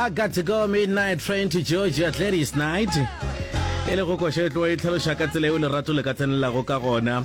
I got to go midnight train to Georgia Gladys Knight. E le go koša e tloga e tlhaloša ka tsela eo lerato le ka tsenelelago ka gona.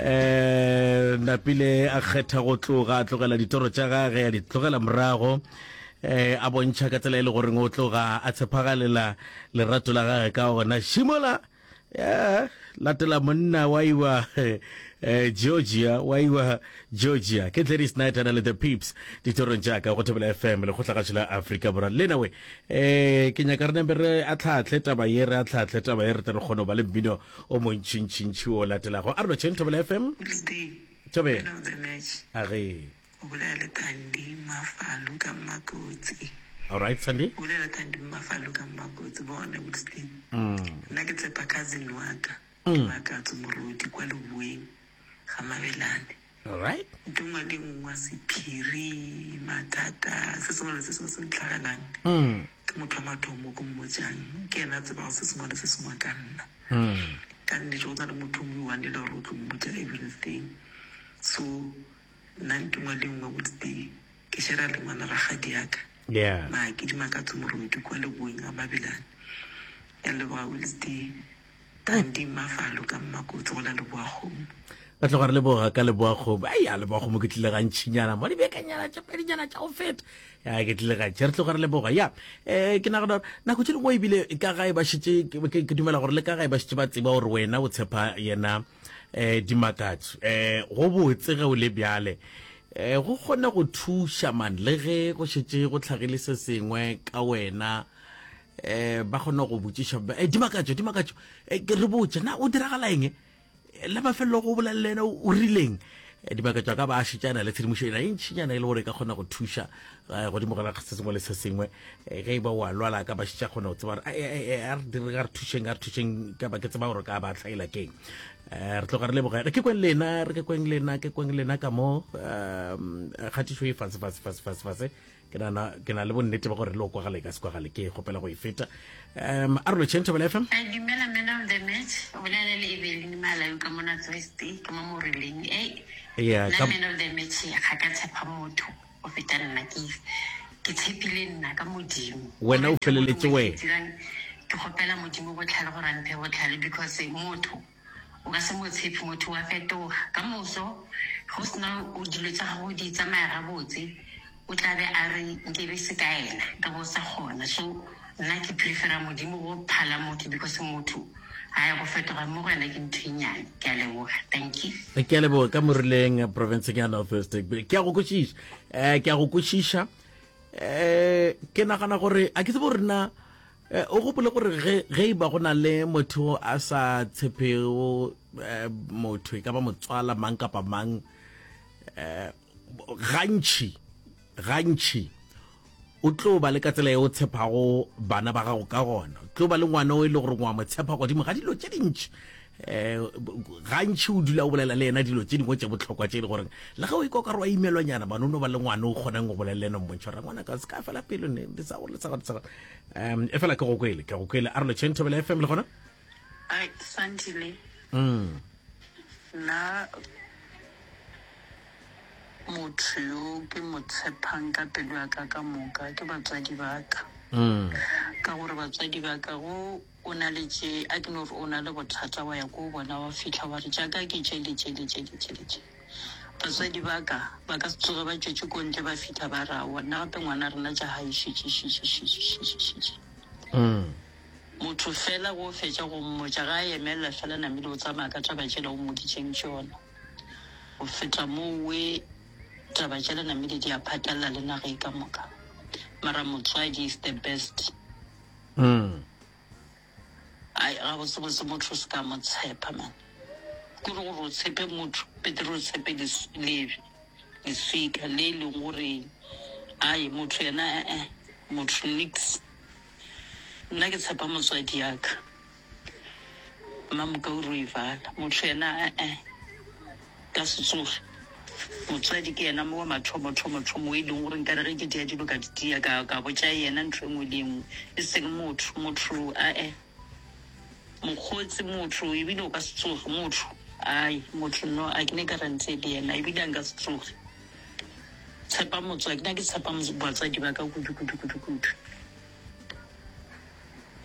Eh napile a kgetha go tloga a tlogela ditoro tša gage a di tlogela morago eh a bontšha ka tsela e le goreng o tloga a tshepagalela lerato la gage ka gona. Šimola Yeah, latela monna wa iwa eh, Georgia wa iwa Georgia ke Gladys Knight ana le the Peeps ditorong tša ka go Thobela FM lekgotlagašo la Afrika Borwa lena we eh ke nyaka re nembe re atlhaatlhe taba ye re atlhaatlhe taba ye re tle re kgone go ba le mmino o montšintšintši o latelago a re lotšheng Thobela FM Thobela a ge O bolela le Thandi Mmafalu ka Mmakotsi. Alright, Thandi. O bolela Thandi Mmafalu ka Mmakotsi. Bona, Wilston. Nna ke tshepa cousin wa ka, Dimakatso Morodi, kwa Leboeng ga Mabelane. Alright. Ntho nngwe le nngwe, sephiri, mathata, se sengwe le se sengwe se ntlhagelang, ke motho wa mathomo ke mmotšang. Ke yena a tsebago se sengwe le se sengwe ka nna. Ka nnete go na le motho o mongwe one e le gore o tlo mmotša everything. So, Nna ntho nngwe le nngwe botse ke shera le ngwana rakgadi ya ka. Yeah. Maake Dimakatso Morodi kwa Leboeng ga Mabelane. Ke a leboga Wilsday. Thandi Mafalo ka Mmakotsi go la Leboakgomo. Re tloga re leboga ka Leboakgomo. Ai ya Leboakgomo ke tlile gantšinyana mo dibekanyana tše pedinyana tša go feta. Ya ke tlile gantši. Re tloga re leboga. Ya eh ke nagana gore nako tše dingwe ebile ka gae ba šetše ke ke dumela gore le ka gae ba šetše ba tseba gore wena o tshepa yena eh dimakatso eh go botse ge o le bjale eh go kgone go thuša man le ge go šetše go tlhagile se sengwe ka wena eh ba kgone go botšiša eh dimakatso dimakatso eh, ke re botše na o diragala eng la mafelelo go bolela le ena o rileng eh, dimakatso a ka ba a šetšana le tshedimošo ena e ntšhinyana e le gore e ka kgona go thuša eh, godimo ga se sengwe le se sengwe eh, ge e ba wa lwala ka ba šetša kgona go tseba gore a re dire ga re thušeng ga re thušeng ka ba ke tseba gore ka ba tlhaela keng um re tloga re leboga re ke kweng lena re ke kweng lena ke kweng lena ka mo um kgatišo e fase fase fase fase fase ke nana ke na le bonnete ba gore le o kwagale ka se kwagale ke kgopela go e feta um a re lotšheng thobela fm dumela man of the match o bolela le evelyn malawi ka mona tsweste ke mo morileng e nna man of the match ga ka tshepa motho Go feta nna ke ke tshepile nna ka Modimo. Wena o feleletše wena. Ke kgopela Modimo botlhale gore a mphe botlhale because motho o ka se mo tshepe, motho wa fetoga. Ka moso ge o sena dilo tša gago di tsamaya gabotse o tla be a re nkebe se ka ena nka be o sa kgona. So nna ke prefera Modimo go phala motho because motho Hai go fetoga mo go yena ke ntho e nyane. Ke a leboga. Thank you. Ke a leboga ka morileng provinceng ya North West. Ke a go kwešiša. Eh ke a go kwešiša. Eh ke nagana gore a ke tsebe gore na eh, o gopole gore ge ge e ba go na le motho a sa tshepego eh, motho e ka ba motswala mang kapa mang eh gantši Gantši o tlo ba le ka tsela ye o tshepago bana ba gago ka gona. O tlo ba le ngwana o e le gore wa mo tshepa godimo ga dilo tše dintši. Um gantši o dula o bolela le yena dilo tše dingwe tše bohlokwa tše e le gore le ge o ikwa o ka re wa imelwanyana, bana o no ba le ngwana o kgonang go bolela le yena o mmontšha gore ngwana ka se ka fela pelo ne le sa gore le sa gore le sa gore. Um e fela ke go kwele, ke go kwele. A re lotšheng Thobela FM le gona. Ai, Sandile. Nna Motho yo ke mo tshepang ka pelo ya ka ka moka ke batswadi ba ka. Ka gore batswadi ba ka go o na le tše, a ke no re o na le bothata wa ya ko bona wa fihla wa re tša ka ke tše le tše le tše le tše le tše. Batswadi ba ka ba ka se tsoge ba tšwetše ko ntle ba fihla ba re aowa nna gape ngwana rena tša gae šetše šetše šetše šetše šetše. Motho fela go fetša go mmotša ga a emelela fela namile o tsamaya ka taba tšela o mmoditšeng tšona. Go feta mowe taba tšela namile di a phatlalela le naga e ka moka. Mara motswadi is the best. Ai gabotsebotse motho o se ka mo tshepa man. Kore gore o tshepe motho betere o tshepe leswika le e leng gore ai motho yena eh-eh motho niks. Nna ke tshepa motswadi ya ka. Mmamoka o ruivala. Motho yena a-e, ka se tsoge. Motswadi ke yena wa mathomo thomo thomo o e leng gore nkare ge ke dia dilo ka di dia ka ka botša yena ntho e nngwe le e nngwe e seng motho. Motho a-e, mokgotsi motho ebile o ka se tsoge motho ai motho no a ke ne guarantee le yena ebile a nka se tsoge. Tshepa motswadi, nna ke tshepa batswadi ba ka kudu kudu kudu kudu.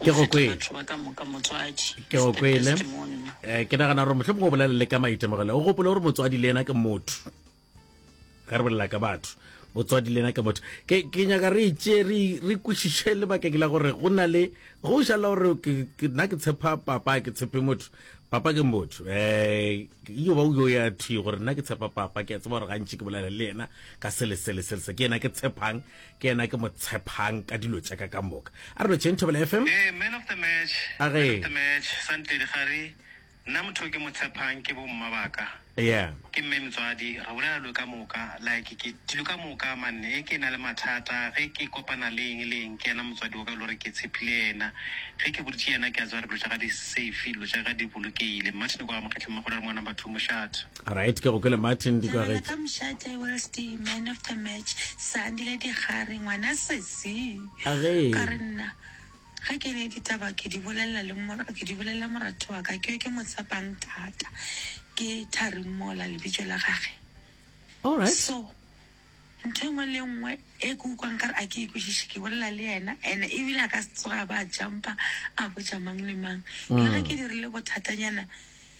Ke go kwele. Batho ba ka moka motswadi. Ke go kwele. Eh, ke nagana gore mohlomongwe o bolela le ka maitemogelo. O gopole gore motswadi le yena ke motho. Ge re bolela ka batho, motswadi le yena ke motho. Ke ke nyaka re itše re re kwešiše lebakeng la gore go na le go šala gore ke nna ke tshepa papa ke tshepe motho. Papa ke motho. Eh, yo ba o yo ya thwi gore nna ke tshepa papa ke a tseba gore gantši ke bolela le yena ka sele sele sele se ke yena ke tshepang ke yena ke mo tshepang ka dilo tša ka ka moka. A re lotšheng Thobela FM. Ee, man of the match, A man ge. of the match, Santledi Gare, nna motho o ke mo tshepang ke bo mma ba ka. Yeah. Ke mme motswadi, re bolela dilo ka moka, like ke dilo ka moka man, e ke na le mathata, ge ke kopana le eng le eng, ke yena motswadi wa ka e le gore ke tshepile yena. Ge ke boditše yena ke a tseba gore dilo tša ka di safe, dilo tša ka di bolokehile. Martin kwa Mokgetleng Magolo re mo number 2 mošate. Right, ke go kwele Martin di Tsebela kwagetše. ka mošate Welsti man of the match Sandile Digare ngwana sesi Age. ka re nna ge ke ne ditaba ke di bolelela le mora ke di bolelela moratho wa ka ke yo ke mo tshepang thata ke Thari Mola lebitso la gage All right. so Ntho e nngwe le e nngwe e ke utlwang nkare a ke e kwešiše, ke bolela le yena, and ebile a ka se tsoge a ba a jumpa a botša mang le mang. Le ge ke dirile bothatanyana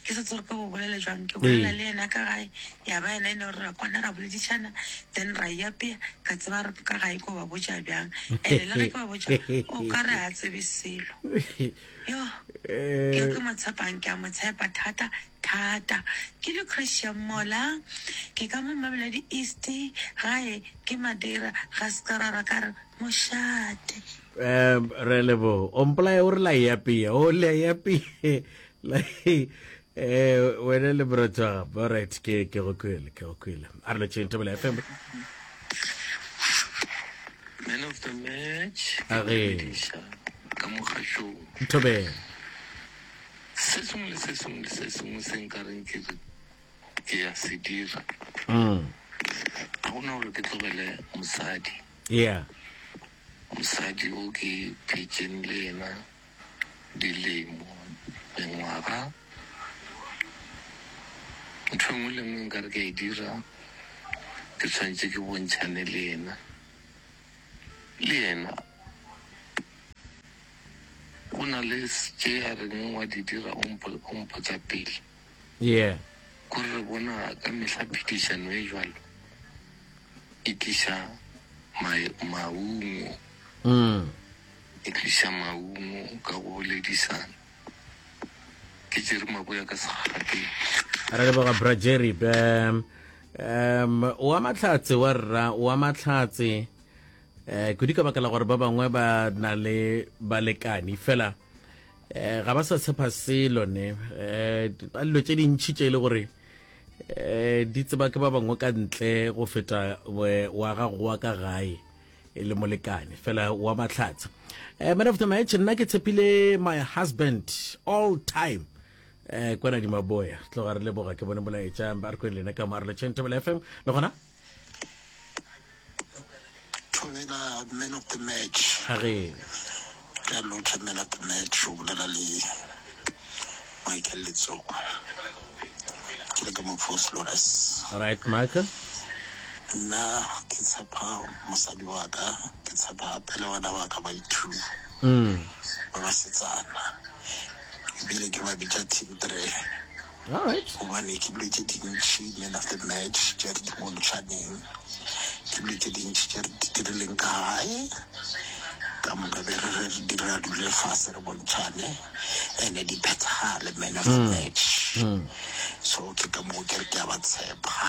ke sa tsebe gore ke bo bolele jwang, ke bolela le yena ka gae, ya ba yena e no re ra kwana ra boledišana, then ra iapea, ka tseba gore ka gae ko ba botša bjang. And le ge ke ba botša, o ka re ga tsebe selo. Yoh, ke yo ke mo tshepang, ke a mo tshepa thata thata. Ke Lucretia Mola, ke ka mo Mamelodi East, gae ke Madeira, ga Skarara ka re mošate. Um re lebo o mpolaya o re la eapea o le eapea la eh wena le brotha all right ke ke go kwele ke go kwele a re lotšheng Thobela FM Man of the match ke A go ge. dumediša ka mogašong. Thobela Se sengwe le se sengwe le se sengwe se nka reng ke re ke ya se dira, ga go na gore ke tlogele mosadi. Yeah. Mosadi o ke phetšeng le yena dilemo, mengwaga, ntho e nngwe le nngwe nka re ke a e dira, ke tshwanetše ke bontšhane le yena. Le yena Go na le tše a reng wa di dira o mpotsa pele. Yeah. Kore re bona ka mehla phedišano e jwalo e tliša maungo. E tliša maungo ka go boledisana. Ke Jerry Maboya ka Segagateng. Re leboga bra Jerry. Um, um, wa mahlatse wa rra, wa mahlatse. Eh, kudu ka baka la gore ba bangwe ba na le balekani fela eh, ga ba sa tshepa selo ne eh, ba dilo tše dintšhi tše e le gore eh, di tseba ke ba bangwe ka ntle go feta wa gago wa ka gae e le molekane fela wa mahlatsa eh, man of the match nna ke tshepile my husband all time eh kwana di maboya tloga re leboga ke bone molaetša ba re kweng lena ka mo a re letšheng Thobela FM le gona Thobela man of the match. A re. Ke a lotha man of the match o bolela le Michael Letsoko. Ke le ka mo Vosloorus. Right Michael. Nna ke tshepa mosadi wa ka, ke tshepa gape le bana ba ka ba i-two. Ba basetsana. Ebile ke ba bitša team 3. Alright. Gobane ke dilo tše dintši man of the match tše re di bontšhaneng, ke dilo tše dintši tše re di dirileng ka gae ka moka be re re dira dule fase re bontšhane and-e di phethagale man of the match. So ke ka moo ke re ke a ba tshepa,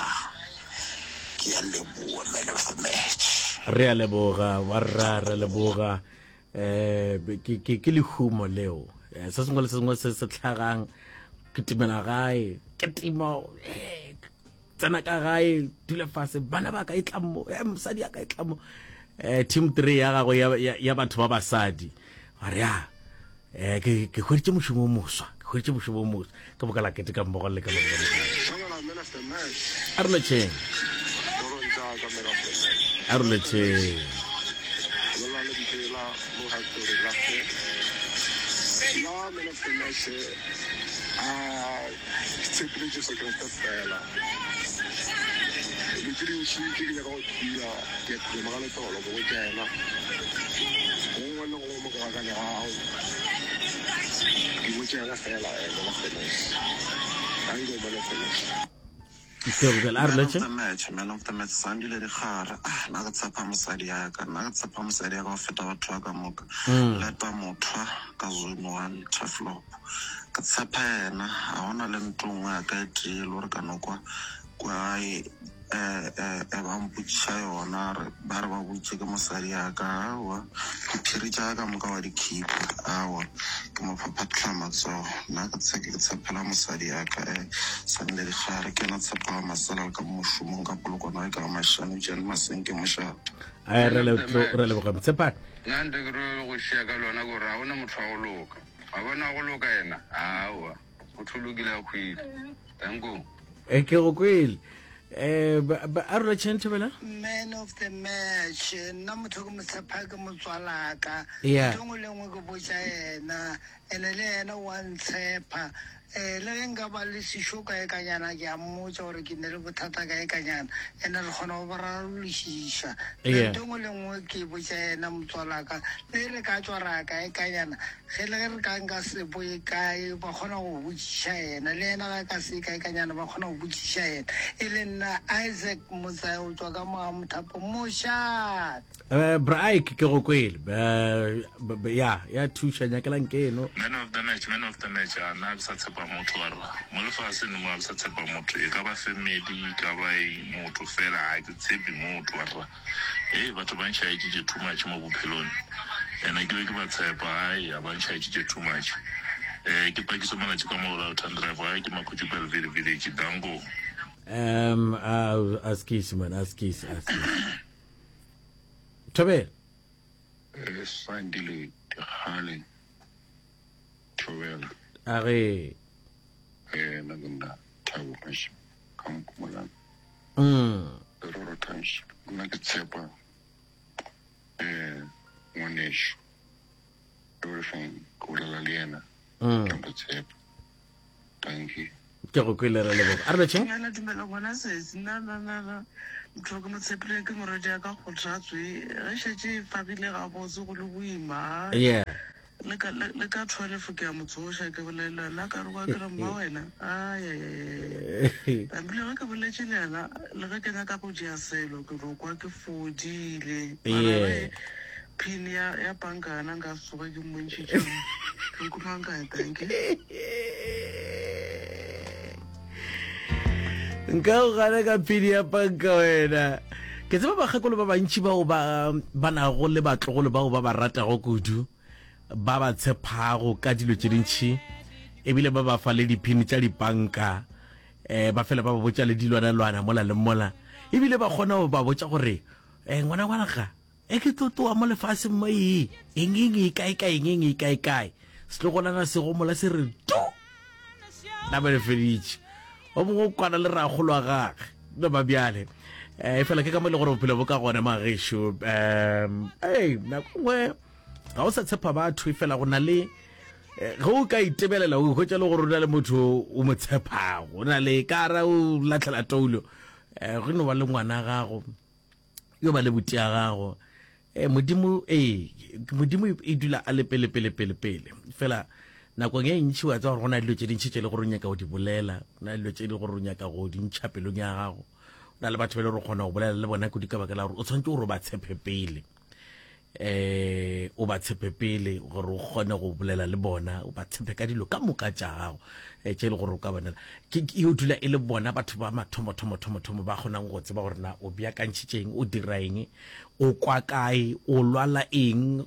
ke a leboa man of the match. Re a leboga warra, re a leboga. Eh, ke ke ke lehumo leo. Eh, se sengwe le se sengwe se se tlhagang ke timela gae, ke timo eh, tsena ka gae, dula fase, bana ba ka e tla mo, eh, mosadi ya ka e tla mo. Eh, team 3 ya gago ya, ya, ya batho ba basadi. Ba re ya, eh, ke ke hweditše mošomo o moswa, ke hweditše mošomo o moswa. Ka boka la keteka mmogo le ka mo. A re lotšheng. A re lotšheng. tše dintši tše ke nyaka go di dira, ke a phuma ka letolo ke botša yena gongwe le gongwe mo ke gakanegago. Ke botša yena fela, man of the match. Danko man of the match. A re Man of the match, man of the match, Sandile Dikgare. Ah, nna ke tshepa mosadi ya ka, nna ke tshepa mosadi ya ka go feta batho ba ka moka. Leta mothwa ka zone one, Turfloop. Ke tshepa yena, ga gona le ntho nngwe ya ka e tee e le gore ka no kwa kua gae eh, eh, eh, ba mpotšiša yona re ba re ba botše ke mosadi ya ka aowa diphiri tša ka moka wa di khipa aowa ke mo phaphatlha matsogo nna ke tshe ke tshepela mosadi ya ka eh Sandile Dikgare ke yena tshepo wa masela le ka mo mošomong ka polokwana e ka ga Mashano Tšane Masenke mošate. Ai, re le- re leboga motshepane Nna nte ke ro go šia ka lona gore ga gona motho wa go loka. Wa bona go loka yena? Aowa, motho o lokile a hwile. Danko. E ke go kwele. Eh a rula tšheng thobela? Man of the match, nna motho ke mo tshepa ke motswalaka. Yeah. Ntho engwe le engwe ke botša yena, ene le yena wa ntshepa. Eh le ge nka ba le sešo kae kanyana ke a mmotša gore ke ne le bothata kae kanyana, ene re kgona go bo rarološiša. Yeah. Ntho engwe le engwe ke botša yena motswalaka, le re ka tšwa ra ya kae kanyana, Ge le ge re ka nka se boye kae, ba kgona go botšiša yena. Le yena ge a ka se ye kae kanyana, ba kgona go botšiša yena. E le nna Isaac Motsae go tšwa ka mo ga Mothapo. Mošate! Eh, bra Ike, ke go kwele. Eh, b- b- ya, ya thuša, nyakelang keno. Man of the match, man of the match, a nna ga ke sa tshepa motho warra. Mo lefaseng mo ga ke sa tshepa motho, e ka ba family, e ka ba eng, motho fela ga ke tshepe motho warra. Hei batho ba nšaetšitše too much mo bophelong ene ke be ke ba tshepa hai a ba nšaetšitše too much eh ke pakiso malatši ka mo Lalton Drive hai ke Makhutšu Belleville Village danko. Um uh, askies man askies askies Thobela Eh, Sandile Dikgale Thobela. A re. Eh, nna ke nna Thabo Mashe ka Mpumalanga. Mm. Leroro Township. Nna ke tshepa eh ngwanešu. Everything ke bolela le yena. Mm. Ke mo tshepa. Thank you. Ke go kwele re leboga. A re lotšheng. Dumela dumela ngwana sesi nna nna nna nna motho ke mo tshepile ke morwedi ya ka kgothatswe ge šetše e fagile gabotse go le boima Yeah. Le ka, le, le ka 12 ke a mo tsoša, ke bolela le yena, ka re kwa ke re mma wena, ayayayaya. Ebile ge ke boletše le yena, le ge ke nyaka go dira selo, ke no kwa ke fodile. Mara Yeah. ge pin ya, ya banka yona nka se tsoge ke mmontšhitše yona. Ke nkumang kae, thank you. Nka go gana ka pin ya panka wena. Ke tseba bakgekolo ba bantši bao ba ba nago le batlogolo bao ba ba ratago kudu, ba ba tshepago ka dilo tše dintši, ebile ba ba fa le diphini tša dipanka, um ba fela ba ba botša le dilwanalwana mola le mola, ebile ba kgona go ba botša gore um ngwana ngwana ga e ke tlo tloa mo lefaseng mo ee eng eng e kae kae eng eng e kae kae setlogolana se gomola se re tu napa le feditše o mongwe o kwana le rakgolo wa gage no ba bjale um fela ke ka mo e le gore bophelo bo ka gona magešo um ei nako nngwe ga o sa tshepa batho e fela go na le eh, ge o ka itebelela o hwetša le gore o na le motho o mo tshepago o na le ka ra o latlhela toulo um go no ba le ngwana gago yo ba le buti ya gago eh modimo eh modimo e dula a le pele pele pele pele fela nakong e ntši wa tseba gore go na dilo tše dintši tše le gore o nyaka go di bolela go na dilo tše le gore o nyaka go di ntšha pelong ya gago go na le batho ba e le gore o kgona go bolela le bona kudu ka baka la gore o tshwanetse gore o ba tshepe pele eh o ba tshepe pele gore o kgone go bolela le bona o ba tshepe ka dilo ka moka tša gago eh, tše e le gore o ka bonela ke e o dula e le bona batho ba mathomo thomo thomo thomo ba kgonang go tseba gore na o beakantšhitše eng o dira eng o kwa kae o lwala eng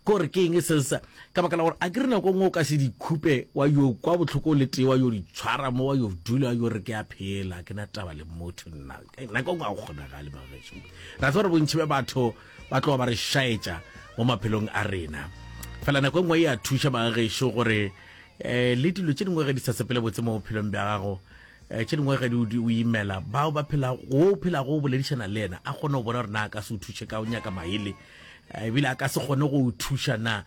kore ke eng se sa ka baka la gore a ke re nako nngwe o ka se di khupe wa yo kwa bohloko le tee wa yo di tshwara mo wa yo dula yo re ke a phela ke na taba le motho nna nako nngwe ga go kgonagale magešo ra tseba gore bontši bja batho ba tloga ba re šaetša mo maphelong a rena fela nako e nngwe e a thuša bagagešo gore um le dilo tše dingwe ge di sa sepele botse mo bophelong bja gago um tše dingwe ge di o imela bao ba phelago o phelago o boledišana le yena a kgone go bona gore na a ka se o thuše ka o nyaka maele ebile a ka se kgone go o thuša na.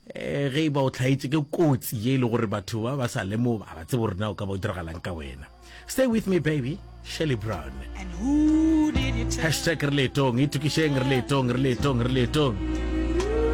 Eh, ge e ba o tlhaetše ke kotsi ye e le gore batho ba ba sa lemoga ba tsebe gore na o ka ba o diragalang ka wena. Stay with me baby, Shirley Brown. Hashtag re leetong, itokišeng re leetong, re leetong, re leetong.